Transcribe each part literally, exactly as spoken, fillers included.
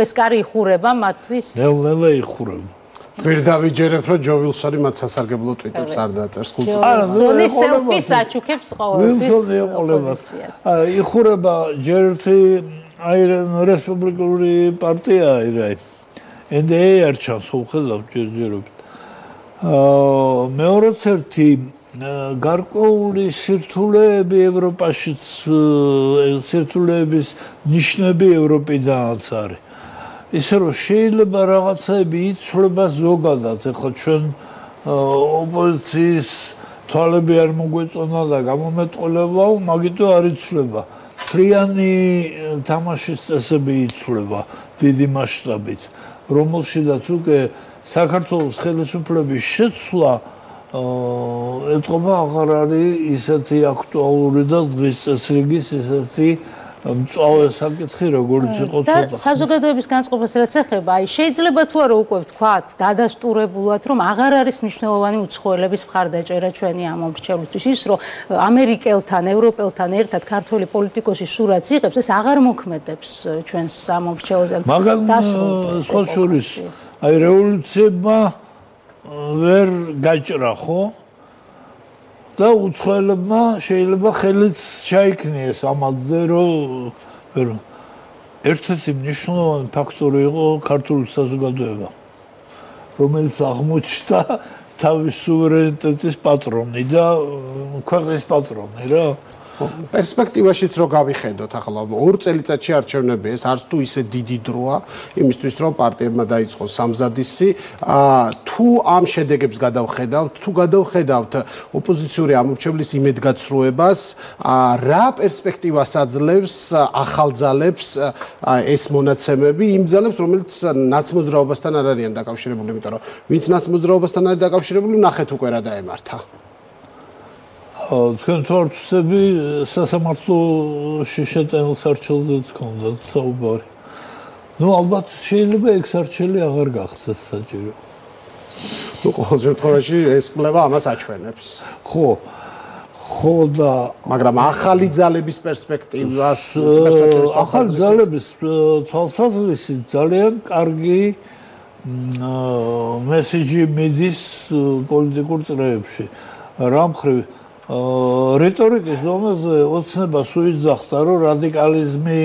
ეს კარი იხურება მათთვის? ნელ-ნელა იხურება. ვერ დავიჯერებ, რომ ჯო ვილსონი მათ სასარგებლო ტვიტებს არ დაწერს კულტურას. არა, ზონი სელფის აჩუქებს ყოველთვის. ვილსონი ეყოლება. იხურება ჯერ ერთი აი რესპუბლიკური პარტია აი ენ დი ეი არ ჩანს უხედავ ჯერჯერობით. აა მეორეც ერთი გარკვეული სირთულეები ევროპაშიც სირთულეების ნიშნები ევროპიდანაც არის. ისე რომ შეიძლება რაღაცები იცვლება ზოგადად, ეხლა ჩვენ ოპოზიციის თვალები არ მოგვეწონა და გამომეტყოლებაო, მაგიტო არ იცვლება. ფრიანი თამაშის წესები იცვლება დიდი მასშტაბით, რომელშიდაც უკვე საქართველოს ხელისუფლების შეცვლა ეთყობა აღარ არის ისეთი აქტუალური და დღის წესრიგის ისეთი მწვავე საკითხი როგორც იყო ცოტა. და საზოგადოების განწყობას რაც ეხება, აი შეიძლება თუ არა უკვე ვთქვათ, დადასტურებულად, რომ აღარ არის მნიშვნელოვანი უცხოელების მხარდაჭერა ჩვენი ამ მომრჩევლისთვის, ის რომ ამერიკელთან, ევროპელთან ერთად ქართველი პოლიტიკოსი სურათს იღებს, ეს აღარ მოქმედებს ჩვენს სამომრჩეველზე. მაგალ სხვა შორის აი რევოლუციებმა ვერ გაჭრა ხო? და უცხოელებმა შეიძლება ხელიც ჩაიქნიეს ამაზე, რომ ერთ-ერთი მნიშვნელოვანი ფაქტორი იყო ქართული საზოგადოება, რომელიც აღმოჩნდა თავის სუვერენიტეტის პატრონი და ქვეყნის პატრონი რა. პერსპექტივაშიც რო გავიხედოთ ახლა ორ წელიწადში არჩევნები ეს არც თუ ისე დიდი დროა იმისთვის რომ პარტიებმა დაიწყოს სამზადისი თუ ამ შედეგებს გადავხედავთ თუ გადავხედავთ ოპოზიციური ამორჩევლის იმედგაცრუებას რა პერსპექტივას აძლევს ახალ ძალებს ეს მონაცემები იმ ძალებს რომელიც ნაცმოძრაობასთან არ არიან დაკავშირებული იმიტომ რომ ვინც ნაცმოძრაობასთან არის დაკავშირებული ნახეთ უკვე რა დაემართა თქვენ თორცები სასამართლოში შეტანილ სარჩელზეც ჰქონდათ საუბარი. ნუ ალბათ შეიძლება ეგ სარჩელი აღარ გახდეს საჭირო. ნუ ყოველ შემთხვევაში ეს კვლევა ამას აჩვენებს. ხო. ხო და მაგრამ ახალი ძალების პერსპექტივას ახალი ძალების თვალსაზრისით ძალიან კარგი მესიჯი მიდის პოლიტიკურ წრეებში. რა მხრივ რიტორიკის დონეზე ოცნებას უიძახდა, რომ რადიკალიზმი,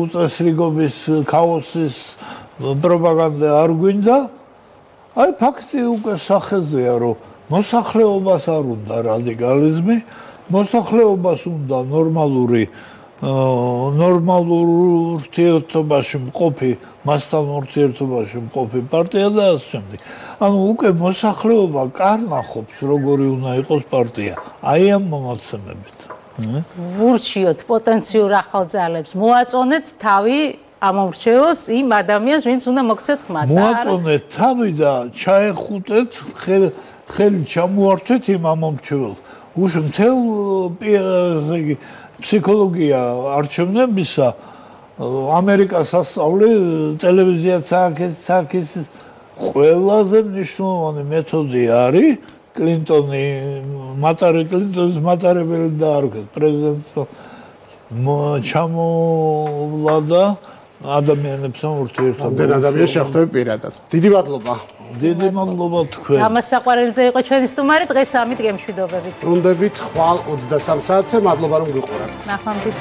უწესრიგობის, ქაოსის პროპაგანდა არ გვინდა. აი ფაქტი უკვე სახეზეა, რომ მოსახლეობას არ უნდა რადიკალიზმი, მოსახლეობას უნდა ნორმალური ნორმალურ ურთიერთობაში მყოფი, მასთან ურთიერთობაში მყოფი პარტია და ასე შემდეგ. ანუ უკვე მოსახლეობა კარნახობს, როგორი უნდა იყოს პარტია. აი ამ მონაცემებით. ვურჩიოთ პოტენციურ ახალ ძალებს, მოაწონეთ თავი ამომრჩეველს იმ ადამიანს, ვინც უნდა მოგცეთ ხმა. მოაწონეთ თავი და ჩაეხუტეთ, ხელი ჩამოართვეთ იმ ამომრჩეველს. უშ მთელ იგი ფსიქოლოგია არჩევნებისა ამერიკას ასწავლე ტელევიზიაც აქეთ ყველაზე მნიშვნელოვანი მეთოდი არის კლინტონი მატარი კლინტონის მატარებელი დაარქვეს პრეზიდენტს ჩამოვლა და ადამიანებთან ურთიერთობა. ამდენ ადამიანს შეხვდები პირადად. დიდი მადლობა. დიდი მადლობა თქვენ. ამას საყვარელიძე იყო ჩვენი სტუმარი, დღეს ამით გემშვიდობებით. ბრუნდებით ხვალ ოცდასამ საათზე, მადლობა რომ გიყურებთ. ნახვამდის.